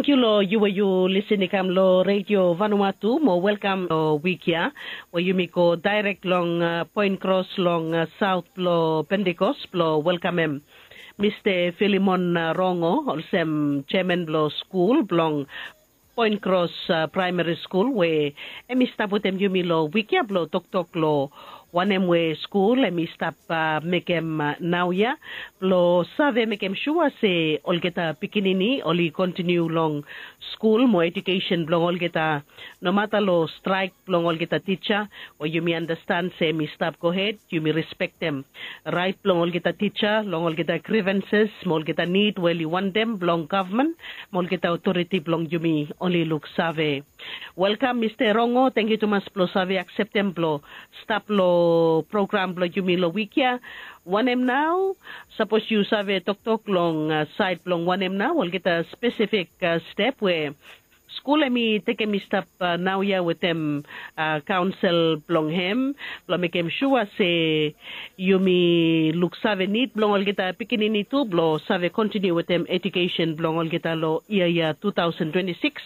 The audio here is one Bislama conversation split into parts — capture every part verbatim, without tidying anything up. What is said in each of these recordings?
Yu lo yu we yu lisin i kam lo Redio Vanuatu mo welkam lo wik ya we yumi go daerek long poen kros long saot blo Pentikos blo welkamem Mista Filimon Rongo olsem jeaman blo skul blong Poen Kros Praemari Skul we hem i stap wetem yumi lo wik ya blo toktok lo wanem we skul hem i stap mekem naoia blo save mekem sua se olgeta pikinini oli kontiniu long skul mo ejukesen blong olgeta. Nomata lo straek blong olgeta tija we yumi andastan se hem i stap gohed, yumi respektem raet blong olgeta tija long olgeta grivenses mo olgeta nid we oli wantem blong gavman mo olgeta otoriti blong yumi oli luksave. Welkam Mista Rongo, tangkiu tumas blo save akseptem blo stap lo program blo yumi lo wik ya. Wanem nao? Sapos yu save toktok long saed blong wanem nao olgeta spesifik step we skul hem i tekem i stap naoia wetem kaonsel blong hem blo mekem sua se yumi luksave nid blong olgeta pikinini tu blo save kontiniu wetem ejukesen blong olgeta lo yia ya tu taosen twenti sikis,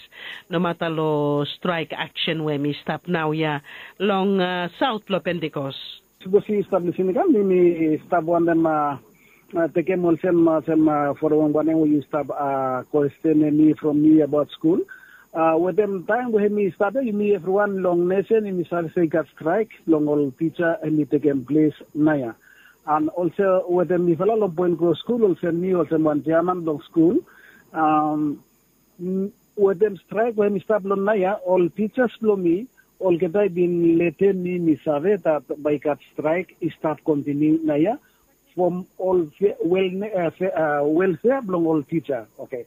nomata lo straek aksen we hem i stap naoia long saot blo Pentikos. Sapos yu stap lisin i kam, mi mi stap wantem tekem olsem olsem forem wanem we yu stap kwestenem mi from mi abaot skul. Wetem taem we hem i stap ya, yumi evriwan long nesen yumi save se i gat straek blong ol tija hem i tekem ples naoia. An olsem wetem mifala long Poen Kros Skul olsem mi olsem wan jeaman blong skul, wetem straek we hem i stap long naoia, ol tijas blong mi olgeta i bin letem mi mi save dat bae i gat straek i stap kontiniu naoia from ol welfea blong ol tija. Oke.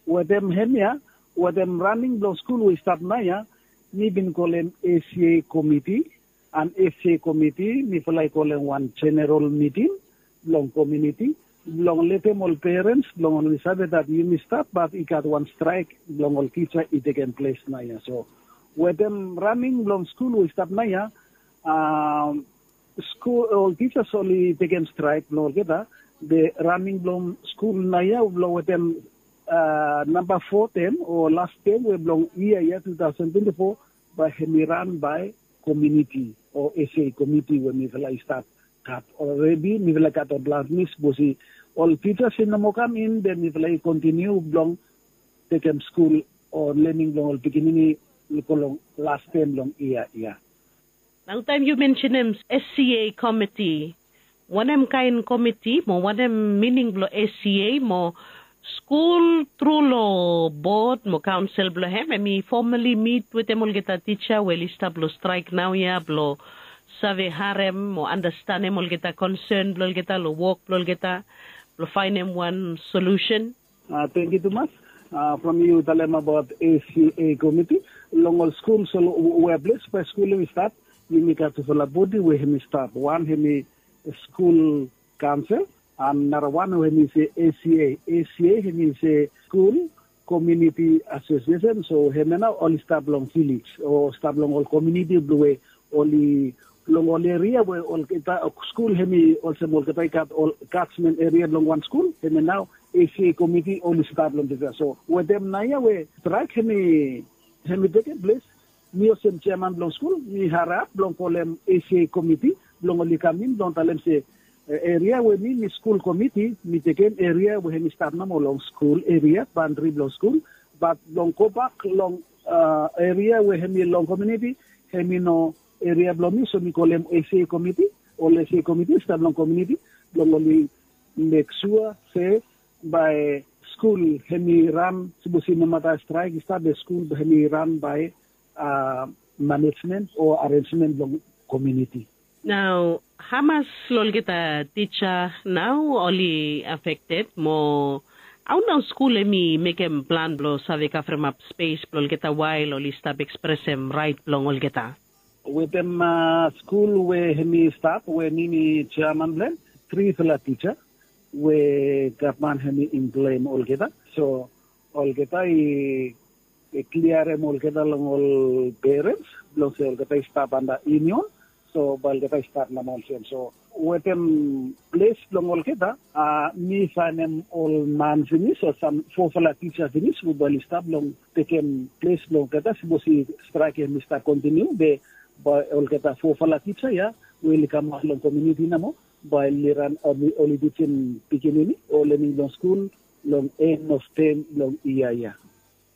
Wetem hemia, wetem raning blong skul we i stap naoia, mi bin kolem ACA komiti, an ACA komiti mifala i kolem wan jeneral miting blong kominiti blong letem ol perens blong oli save dat yumi stap bat i gat wan straek blong ol tija i tekem ples naoia. So wetem raning blong skul we i stap naoia, skul ol tijas oli tekem straek blong olgeta. Be raning blong skul naoia blong wetem namba fo tem o las tem we blong yia ya tu taosen twenti fo, bae hem i ran bae kominiti o ACA komiti we mifala i stap gat olredi. Mifala i gat ol blas mi sapos ol tijas i no moa kam in, be mifala i kontiniu blong tekem skul o lening blong ol pikinini i go long las tem blong yia ya. Nao taem yu mensenem ACA komiti, wanem kaen komiti mo wanem mining blong ACA mo skul tru long bod mo kaonsel blong hem hem i fomali mit wetem olgeta tija we oli stap long straek naoia blong save harem mo andastanem olgeta konsen blong olgeta long wok blong olgeta blong faenem wan solusen? Tangkiu tumas. From yu talem abaot ACA komiti, long ol skul so we ples bae skul hem i stap, yumi gat tufala bodi we hem i stap. Wan hem i skul kaonsel, an narawan we hem i se ACA. ACA hem i se skul kominiti asosiesen. So hemia nao oli stap long vilej o stap long ol kominiti blong we oli long ol eria we olgeta skul hem i olsem olgeta i gat ol katsmen eria blong wan skul, hemia nao ACA komiti oli stap long dispela. So wetem naoia we straek hem i hem i tekem ples, mi olsem jeaman blong skul mi harap blong kolem ACA komiti blong oli kam in blong talem se eria we mi mi skul komiti mi tekem eria we hem i stap nomo long skul eria bandri blong skul. Bat blong gobak long eria we hem i long kominiti, hem i no eria blong mi, so mi kolem ACA komiti. Ol ACA komiti i stap long kominiti blong oli mek sua se bae skul hem i ran, sapos i nomata straek i stap be skul hem i ran bae manejmen o arenjmen blong kominiti. Nao hamas long olgeta tija nao oli afekted mo hao nao skul hem i mekem plan blong save kavremap spes blong olgeta wael oli stap ekspresem raet blong olgeta? Wetem skul we hem i stap we mi mi jeaman blong hem, trifala tija we gavman hem i emploem olgeta. So olgeta i kliarem olgeta long ol perens blong se olgeta i stap anda yunion. So bae olgeta i stat namo olsem. So Wetem ples blong olgeta, mi faenem ol man finis o sam fofala tisa finis we bae oli stap long tekem ples blong olgeta, sipos i straek hemi stap kontiniu be bae olgeta fofala tisa ya we oli kamaot long komiuniti namo bae oli ran, oli tisim pikinini o lening long skul long en of tem long yia ya.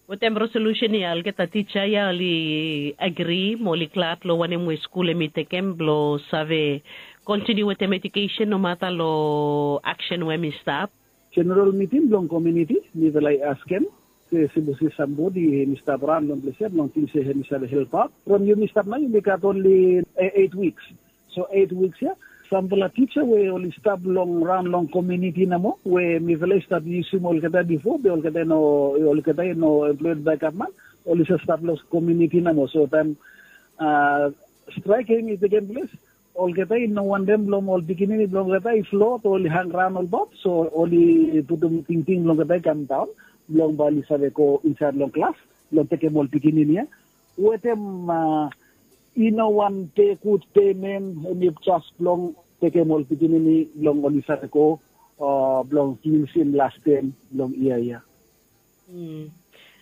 Wetem resolusen ya olgeta tisa ya oli agri mo oli glad long wanem we skul hemi tekem blong save kontiniu wetem ejukesen nomata long aksen we hemi stap. Jeneral miting blong komiuniti mifala i askem se sipos i sambodi hemi stap raon long ples ya blong ting se hemi save helpaot. From yumi stap nao yumi gat onli eit wiks. So eit wiks ya, sampela tisa we oli stap long raon long komiuniti namo we mifala i stap yusim olgeta bifo be olgeta i no, olgeta i no employed bae gavman, oli save stap long komiuniti namo. So taem straek ya i tekem ples, olgeta i no wantem blong ol pikinini blong olgeta i flot o oli hangraon olbaot. So oli putum tingting blong olgeta i kamdaon blong bae oli save go insaed long klas blong tekem ol pikinini ya wetem i no wan pe gud pemen, hemi jes blong tekem ol pikinini blong oli save go blong finisim las tem blong yia ya.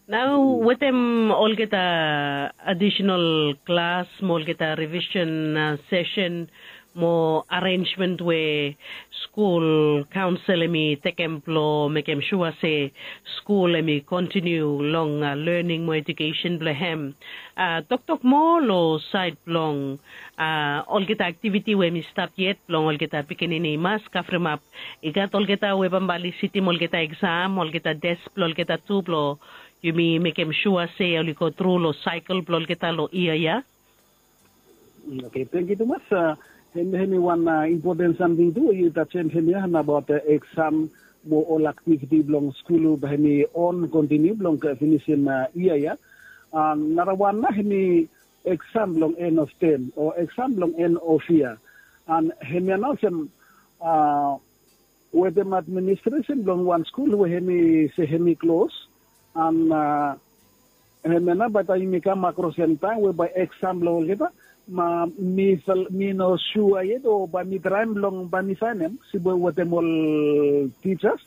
Nao wetem olgeta adisenal klas mo olgeta rivisen sesen mo arensmen we skul kaonsel hemi tekem blong mekem sua se skul hemi kontiniu long lening mo ejukesen blong hem. Toktok moa long saed blong olgeta aktiviti we hemi stap yet blong olgeta pikinini i mas kavremap. I gat olgeta we bambae oli sitim olgeta eksam, olgeta tes blong olgeta tu blong yumi mekem sua se oli go tru long saekel blong olgeta long yia ya. Oke, tangkiu tumas. Hemi, hemi wan impoten samting tu we yu tajem hemia nabaot eksam mo ol aktiviti blong skul bae hemi on kontiniu blong finisim yia ya. Narawan nao hemi eksam blong en of tem o eksam blong en of yia. An hemia nao olsem wetem administresen blong wan skul we hemi se hemi klos. An hemia nao bae taem yumi kam akros long taem we bae eksam blong olgeta, mi no sua yet o bae mi traem blong bae mi saenem sipwe wetem ol tijas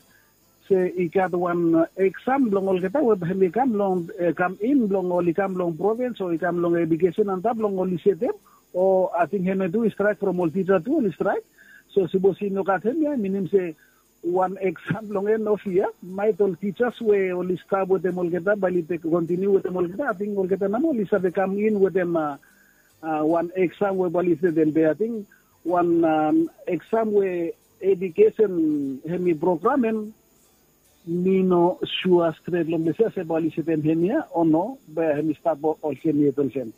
se i gat wan eksam blong olgeta we bae hemi kam long, kam in blong oli kam long provins o i kam long ejukesen antap blong oli setem. O ating hemia tu i straek from ol tija tu oli straek. So sipos i no gat hemia minim se wan eksam blong en of yia, maet ol tijas we oli stap wetem olgeta bae oli kontiniu wetem olgeta, ating olgeta nao oli save kam in wetem wan eksam we bae oli setem. Be ating wan eksam we ejukesen hemi programem, mi no sua stret long ples ya se bae oli setem hemia o no, be hemi stap olsem yet olsem.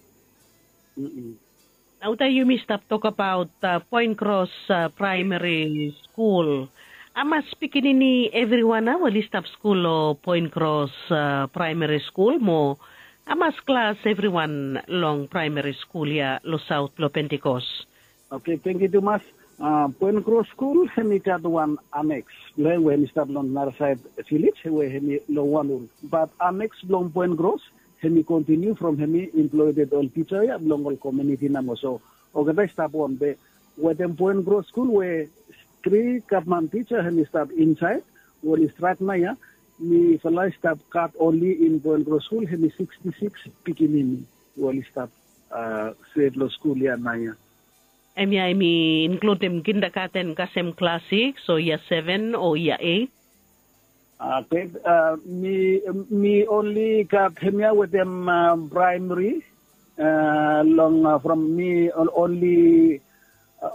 Nao taem yumi stap tokbaot Poen Kros Praemari Skul, hamas pikinini evriwan nao oli stap skul long Poen Kros Praemari Skul mo hamas klas evriwan long praemari skul ya long saot blong Pentikos? Oke, tangkiu tumas. Poen Kros Skul hemi gat wan aneks blong hem we hemi stap long narasaed vilej we hemi long wan ul. Bat aneks blong Poen Kros hemi kontiniu from hemi emploeded ol tija ya blong ol komiuniti namo. So olgeta i stap on be wetem Poen Kros Skul we tri gavman tija hemi stap insaed we oli straek nao ya, mifala i stap gat onli in Poen Kros Skul hemi siksti siks pikinini we oli stap stret long skul ya nao ya. Hemia hemi inkludim kindagaten kasem klas siks o yia seven o yia eit? Oke, mi onli gat hemia wetem praemari. Long from mi onli,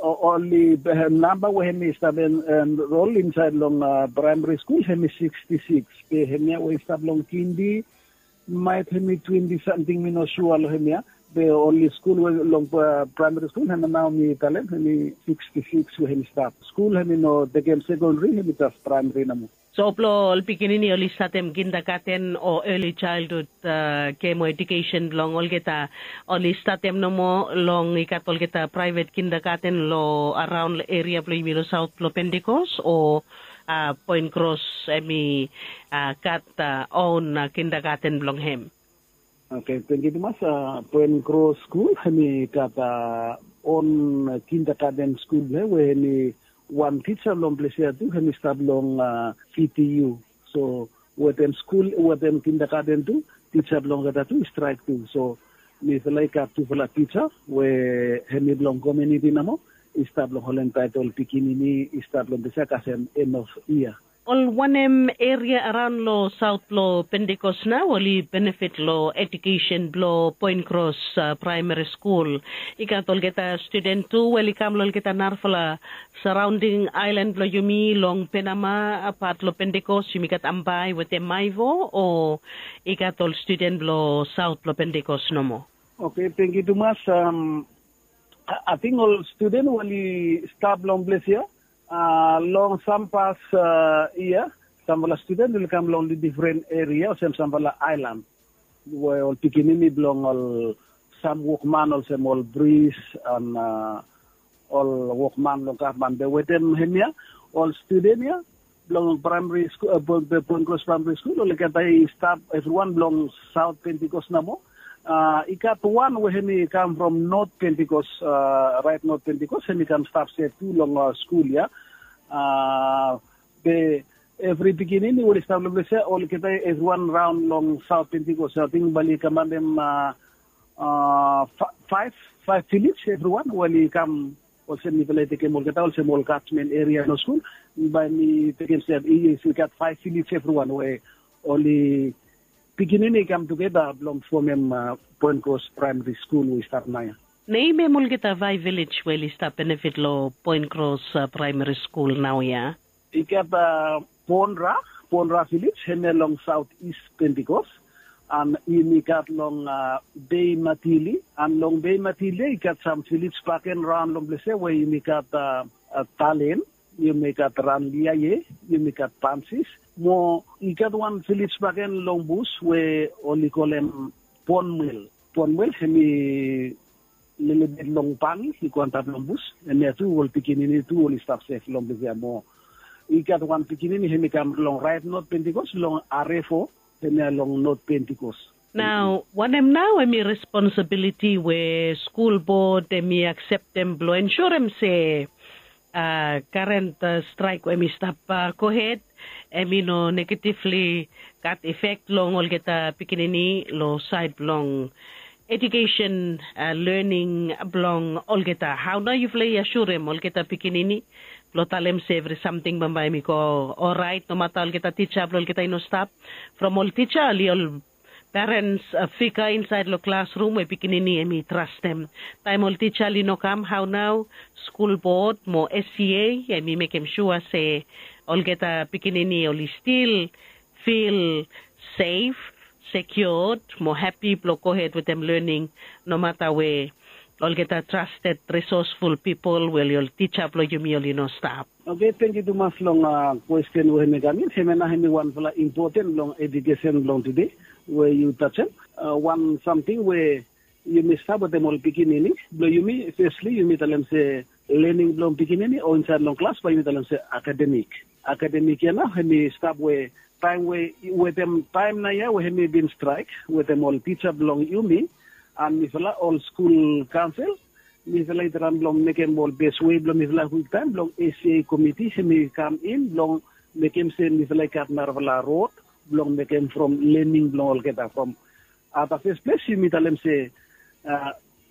onli namba we hemi stap enrol insaed long praemari skul hemi siksti siks. Be hemia we i stap long kindi maet hemi twenti samting, mi no sua long hemia. Be onli skul we long praemari skul hemia nao mi talem hemi siksti siks we hemi stap. Skul hemi no tekem sekondari, hemi jes praemari namo. So blong ol pikinini oli statem kindagaten o eli jaelhud, kem o ejukesen blong olgeta oli statem nomo long i gat olgeta praevet kindagaten long araon long eria blong yumi long saot blong Pentikos o Poen Kros hemi gat own kindagaten blong hem? Oke, tangkiu tumas. Poen Kros skul hemi gat on kindergarten skul blong hem we hemi wan tisa blong ples ya tu hemi stap long P T U. So wetem skul wetem kindergarten tu tisa blong olgeta tu i straik tu. So mifala i gat tufala tisa we hemi blong komuniti nomo i stap long holem taet ol pikinini i stap long ples ya kasem en of yia. Ol wanem eria araon long saot blong Pentikos nao oli benefit long ejukesen blong Poen Kros Praemari Skul? I gat olgeta studen tu we oli kam long olgeta narafala saraonding aelan blong yumi long Penama, pat long Pentikos yumi gat Ambae wetem Maevo, o i gat ol studen blong saot blong Pentikos nomo? Oke, tangkiu tumas. Ating ol studen we oli stap long ples ya long sam pas yia, samfala studen oli kam long difren eria olsem samfala aelan we ol pikinini blong ol sam wokman olsem ol bris an ol wokman long gavman be wetem hemia ol studen ya blong praemari skul, Poen Kros Praemari Skul, olgeta i stap evriwan blong saot Pentikos nomo. I gat wan we hemi kam from not Pentikos, raet not Pentikos hemi kam stap sef tu long skul ya. Be evri pikinini we oli stap long ples ya olgeta evriwan raon long saot Pentikos ating bae oli kamantem faef, faef vilej evriwan we oli kam olsem mifala i tekem olgeta olsem ol katmen eria long skul. Bae mi tekem se i gat faef vilej evriwan we oli pikinini i kam tugeta blong fomem Poen Kros Praemari Skul we i stap naoia. Nem hem olgeta faef vilej we oli stap benefit long Poen Kros Praemari Skul naoia? I gat Ponra, Ponra vilej hemia long saot is Pentikos. An yumi gat long Bei Matili, an long Bei Matili i gat sam vilej baken raon long ples ya we yumi gat Talen, yumi gat Ranliaie, yumi gat Pansis. Mo i gat wan vilej baken long bus we oli kolem Ponmwel. Ponmwel hemi lelebet long bangi i go antap long bus. Hemia tu ol pikinini tu oli stap sef long ples ya mo i gat wan pikinini hemi kam long raet not Pentikos long Arefo, hemia long not Pentikos. Nao wanem nao hemi responsabiliti we skul bod hemi akseptem blong ensurem se karen straek we hemi stap gohed hemi no negativli gat efek long olgeta pikinini long saed blong ejukesen, lening blong olgeta? Hao nao yufala i asurem olgeta pikinini blong talem se evri samting bambae hemi go oraet nomata olgeta tisa blong olgeta i no stap? From ol tisa oli ol perens figa insaed long klasrum we pikinini hemi trastem. Taem ol tisa oli no kam, hao nao skul bod mo S C A hemi mekem sua se olgeta pikinini oli stil fil sef, sekiod mo hapi blong gohed wetem lening nomata we olgeta trasted risosful pipol we oli ol tisa blong yumi oli no stap? Oke, tangkiu tumas long kwesten we hemi kam in. Hemia nao hemi wanfala impoten blong ejukesen blong tude we yu tajem. Wan samting we yumi stap wetem ol pikinini blong yumi, fesli yumi talem se lening blong pikinini o insaed long klas bae yumi talem se akademik. Akademik ya nao hemi stap we taem we wetem taem naoia we hemi bin straek wetem ol tisa blong yumi an mifala ol skul kaonsel, mifala i traem blong mekem ol bes wei blong mifala kwiktaem blong S C A komiti hemi kam in blong mekem se mifala i gat narafala rod blong mekem from lening blong olgeta. From at the first ples yumi talem se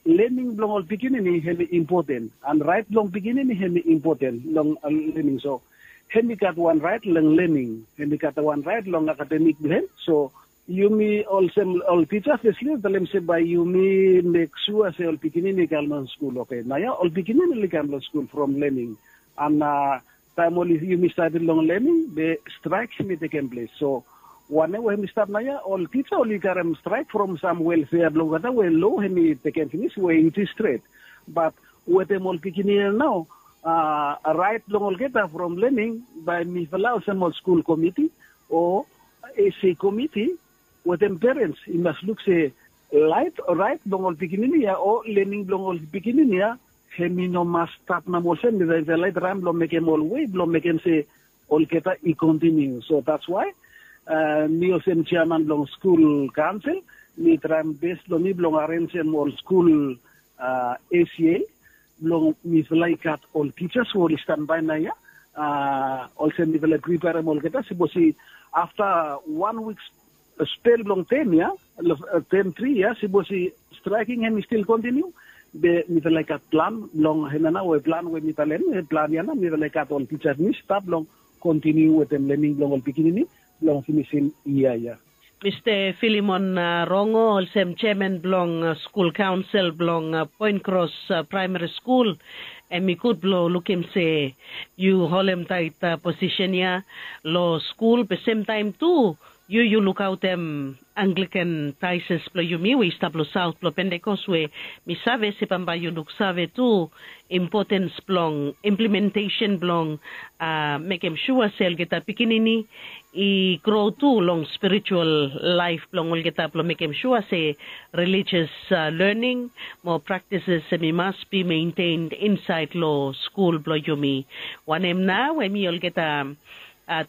lening blong ol pikinini hemi impoten an raet blong pikinini hemi impoten long lening. So hemi gat wan raet long lening, hemi gat wan raet long akademik blong hem. So yumi olsem ol tisa fesli talem se bae yumi mek sua se ol pikinini i kam long skul. Oke, naoia ol pikinini oli kam long skul from lening an taem oli yumi stadi long lening be straek hemi tekem ples. So wanem we hemi stap naoia ol tisa oli karem straek from sam welfea blong olgeta we lo hemi tekem finis we i stret. Bat wetem ol pikinini ya nao raet blong olgeta from lening bae mifala olsem ol skul komiti o S C A komiti wetem perens i mas luk se raet blong ol pikinini ya o lening blong ol pikinini ya hemi no mas stap nomo olsem. Mifala i traem blong mekem ol wei blong mekem se olgeta i kontiniu. So that's why mi olsem jeaman blong skul kaonsel mi traem bes blong mi blong arenjem ol skul S C A blong mifala i gat ol tijas we oli stanbae naoia. Olsem mifala i priperem olgeta, sapos i afta wan wik spel blong tem ya, tem tri ya, sapos i straeking hem i stil kontiniu, be mifala i gat plan blong hemia nao we plan we mi talem, plan ya nao mifala i gat ol tijas mi stap blong kontiniu wetem lening blong ol pikinini blong finisim yia ya. Mista Filimon Rongo, olsem jeaman blong skul kaonsel blong Poen Kros Praemari Skul, hem i gud blong lukim se yu holemtaet posisen ya long skul, be semtaem tu yu yu lukaotem Anglikan Daeses blong yumi we i stap long saot blong Pentekos, we mi save se bambae yu luksave tu impotens blong implementesen blong mekem sua se olgeta pikinini i gro tu long spiritual laef blong olgeta, blong mekem sua se relijias lening mo praktises hem i mas bi mentened insaed long skul blong yumi. Wanem nao hem i olgeta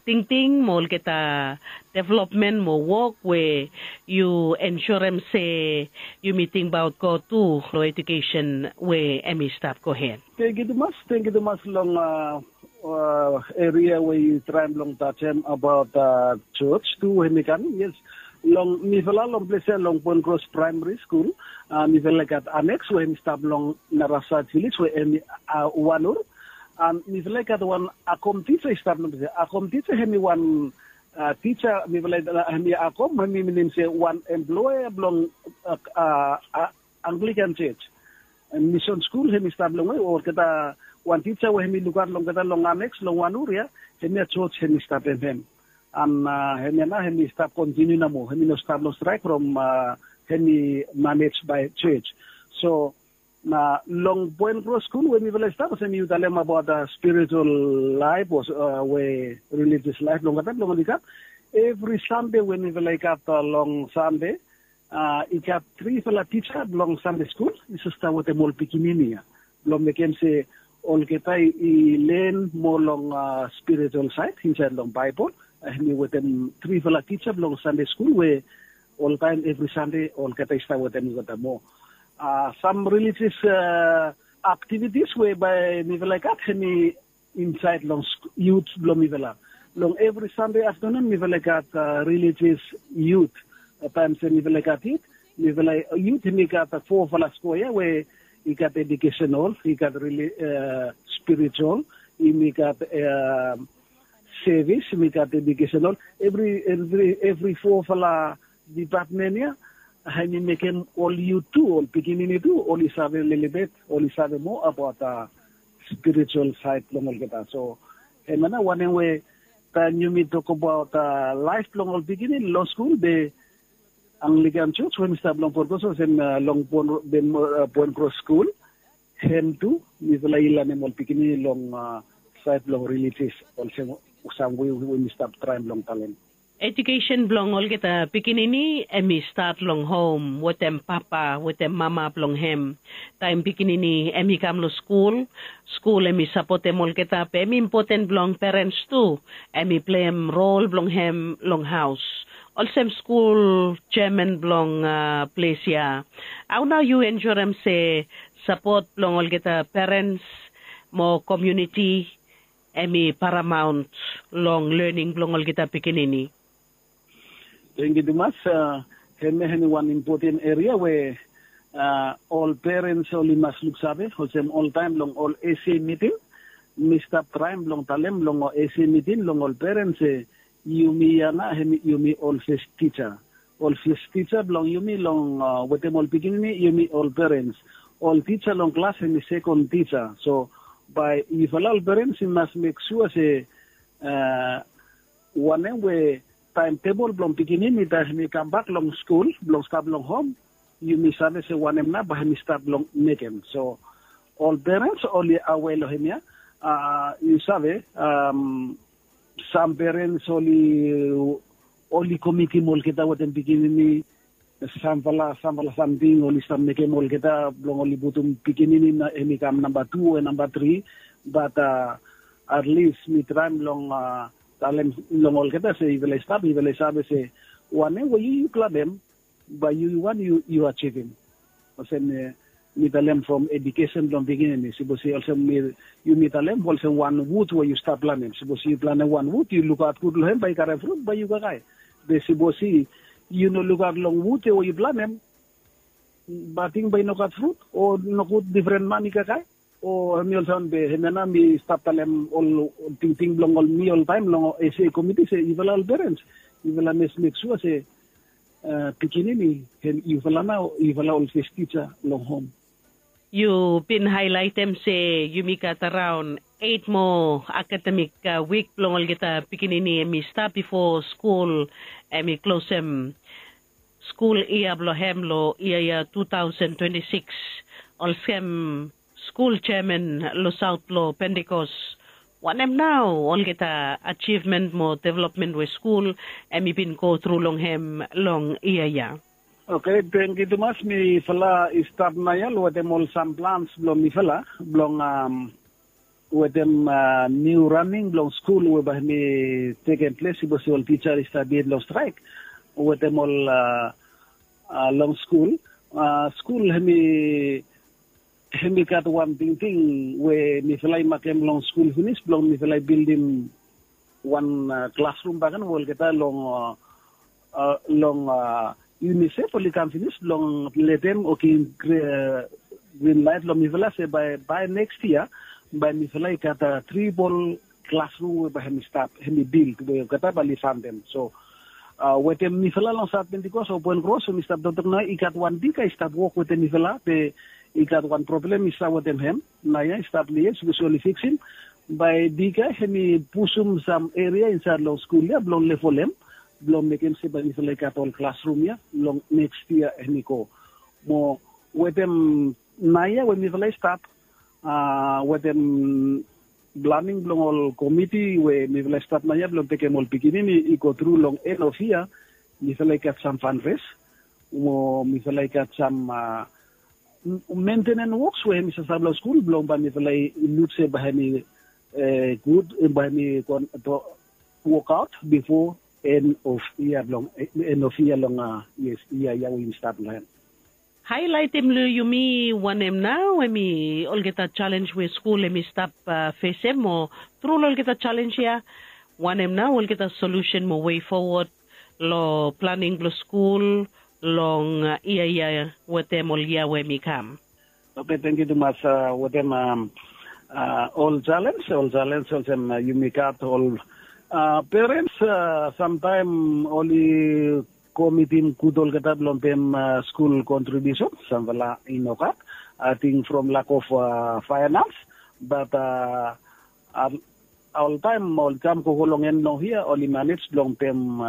tingting mo olgeta developmen mo wok we yu ensurem se yumi tingbaot God tu long ejukesen we hem i stap gohed? Tangkiu tumas, tangkiu tumas long eria we yu traem blong tajem abaot jos tu we hem i kam. Yes, long mifala long ples ya long Poen Kros Praemari Skul, mifala i gat aneks we hem i stap long Narasaet Viles we hem i Wanur. Mifala i gat wan akom tija i stap long ples ya. Akom tija hem i wan tija, mifala hem i akom hem i minim se wan emploea blong Anglikan Jos. Misen skul hem i stap longwe, olgeta wan tija we hem i lukaot long olgeta long aneks long Wanur ya, hemia jos hem i stap hem. An hemia nao hem i stap kontiniu nomo, hem i no stap long straek from hem i manej bae jos. So na long Poen Kros Skul we mifala i stap, olsem yu talem abaot spiritual laef o we relijias laef blong olgeta blong oli gat. Evri Sande we mifala i gat long Sande, i gat trifala tija blong Sande skul i save stap wetem ol pikinini ya blong mekem se olgeta i len moa long spiritual saed insaed long Baebol. Hem i wetem trifala tija blong Sande skul we oltaem evri Sande olgeta i stap wetem olgeta moa. Sam relijias aktivitis we bae mifala i gat hem i insaed long yut blong mifala. Long evri Sande aftanun mifala i gat relijias yut. Taem se mifala i gat yut, mifala yut hem i gat fofala skoea we i gat ejukesenol, i gat spiritual, hem i gat sevis, hem i gat ejukesenol. Evri evri evri fofala dipatmen ya hem i mekem ol yut tu, ol pikinini tu oli save lelebet, oli save moa abaot spiritual saed blong olgeta. So hemia nao wanem we taem yumi tokbaot laef blong ol pikinini long skul, be Anglikan Jos we hem i stap long Poen Kros olsem long Poen Kros Skul, hem tu mifala i lanem ol pikinini long saed blong relijias olsem sam we we mi stap traem blong talem. Ejukesen blong olgeta pikinini hem i stat long hom wetem papa wetem mama blong hem. Taem pikinini hem i kam long skul, skul hem i sapotem olgeta, be hem i impoten blong perens tu hem i pleim rol blong hem long haos. Olsem skul jeaman blong ples ya, hao nao yu ensurem se sapot blong olgeta perens mo komuniti hem i paramaon long lening blong olgeta pikinini? Tangkiu tumas. Hemia hem i wan impoten eria we ol perens oli mas luksave, olsem oltaem long ol ese miting mi stap traem blong talem long ol ese miting long ol perens se yumi ya nao hem yumi ol fes tija. Ol fes tija blong yumi long wetem ol pikinini yumi ol perens. Ol tija long klas hem i sekon tija. So bae yufala ol perens i mas mek sua se wanem we taem tebol blong pikinini taem hem i kambak long skul blong stap long hom, yumi save se wanem nao bae hem i stap long mekem. So ol perens oli awe long hemia. Yu save, sam perens oli oli komitim olgeta wetem pikinini samfala samfala samting oli stap mekem olgeta blong oli putum pikinini hem i kam namba tu o namba tri. Bat atlis mi traem long talem long olgeta se yufala i stap, yufala i save se wanem we yu yu klabem, bae yu yu wan yu yu ajivim. Olsem Mi talem from edukesen blong pikinini, sipos i olsem yumi talem olsem wan wud we yu stap planem. Sipos yu planem wan wud, yu lukaot gud long hem bae i karem frut bae yu kakae. Be sipos i yu no lukaot long wud ya we yu planem, bating bae i no gat frut o nogud difren man i kakae. O hem i olsem be hem ya nao mi stap talem ol tingting blong ol mi oltaem long ese komiti se yufala ol perens, yufala mes mek sua se pikinini hem yufala nao yufala ol fes tija long hom. Yu bin haelaetem se yumi gat araon eit moa akademik wik blong olgeta pikinini hem i stap bifo skul hem i klosem skul yia blong hem long yia ya tu taosen twenti sikis. Olsem skul jeaman long saot blong Pentikos, wanem nao olgeta ajivmen mo developmen we skul hem i bin gotru long hem long yia ya? Oke, tangkiu tumas. Mifala i stap naoia long wetem ol sam plans blong mifala blong wetem niu raning blong skul we bae hem i tekem ples sipos ol tija i stap yet long straek. Wetem ol long skul, skul hem i hem i gat wan tingting we mifala i makem long skul finis blong mifala i bildim wan klasrum bakegen we olgeta long long unisef oli kam finis blong letem o givim grin laet long mifala se bae bae neks yia bae mifala i gat tribol klasrum we bae hem i stap hem i bild we olgeta bae oli fantem. So wetem mifala long saot Pentikos o Poen Kros we mi stap toktok nao i gat wan diga i stap wok wetem mifala be i gat wan problem i stap wetem hem. Naoia i stap long yet sipos oli fiksim bae diga hem i pusum sam eria insaed long skul ya blong level hem blong mekem se bae mifala i gat ol klasrum ya long neks yia hem i go. Mo wetem naoia we mifala i stap wetem planing blong ol komiti we mifala i stap naoia blong tekem ol pikinini i gotru long en of yia, mifala i gat sam fanres mo mifala i gat sam mentenen woks we hem i sasave long skul blong bae mifala i luk se bae hem i gud bae hem i wokaot bifo en of yia blong en of yia long yes yia ya we yumi stap long hem. Haelaetem long yumi wanem nao hem i olgeta jalenj we skul hem i stap fesem mo tru long olgeta jalenj ya wanem nao olgeta solusen mo wei fowod long planing blong skul long yia ya wetem ol yia we hem i kam? Oke, tangkiu tumas. Wetem ol jalenj ol jalenj olsem yumi gat ol perens samtaem oli komitim gud olgeta blong pem skul kontribiusen samfala i no gat ating from lak of faenans. Bat oltaem ol kam gogo long en blong hia oli manej blong pem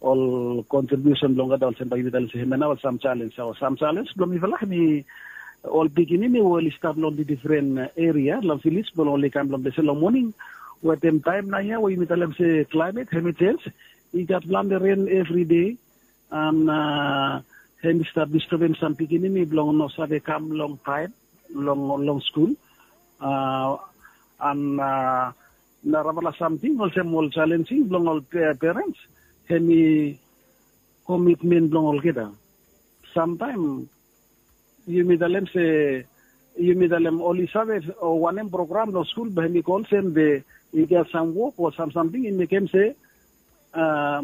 ol kontribiusen blong olgeta olsem bae yumi talem se hem ya nao ol sam jalenj o sam jalenj blong mifala hem i ol pikinini we oli stap long difren eria long viles blong oli kam blong ples ya long moning wetem taem naoia we yumi talem se klaemet hem i jenj i gat plante ren evride an hem i stap distebem sam pikinini blong no save kam long taem long long skul. An narafala samting olsem ol jalenjing blong ol perens hem i komitmen blong olgeta. Samtaem yumi talem se yumi talem oli save o wanem program long skul bae hem i go olsem be i gat sam wok o sam samting i mekem se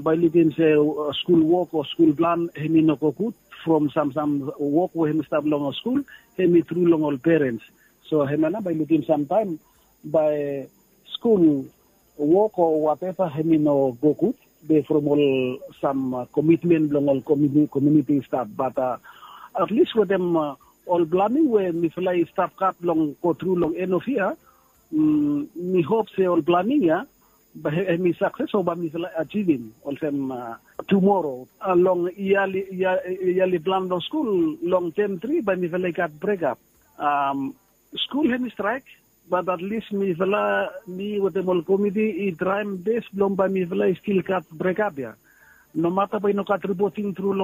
bae i lukim se skul wok o skul plan hem i no go gud from sam sam wok we hem i stap long skul hem i tru long ol perens. So hem ya nao bae i lukim samtaem bae skul wok o wateva hem i no go gud be from ol sam komitmen blong ol kominiti i stap bat atlis wetem ol planing we mifala i stap gat blong gotru long en of yia mi hop se ol planing ya bae hem i sakses o bae mifala ajivim olsem tumoro long yali plan blong skul long tem tri bae mifala i gat brekap. Skul hem i straek bat atlis mifala mi wetem ol komiti i traem bes blong bae mifala i stil gat brekap ya. Nomata bae i no gat ripoting tru long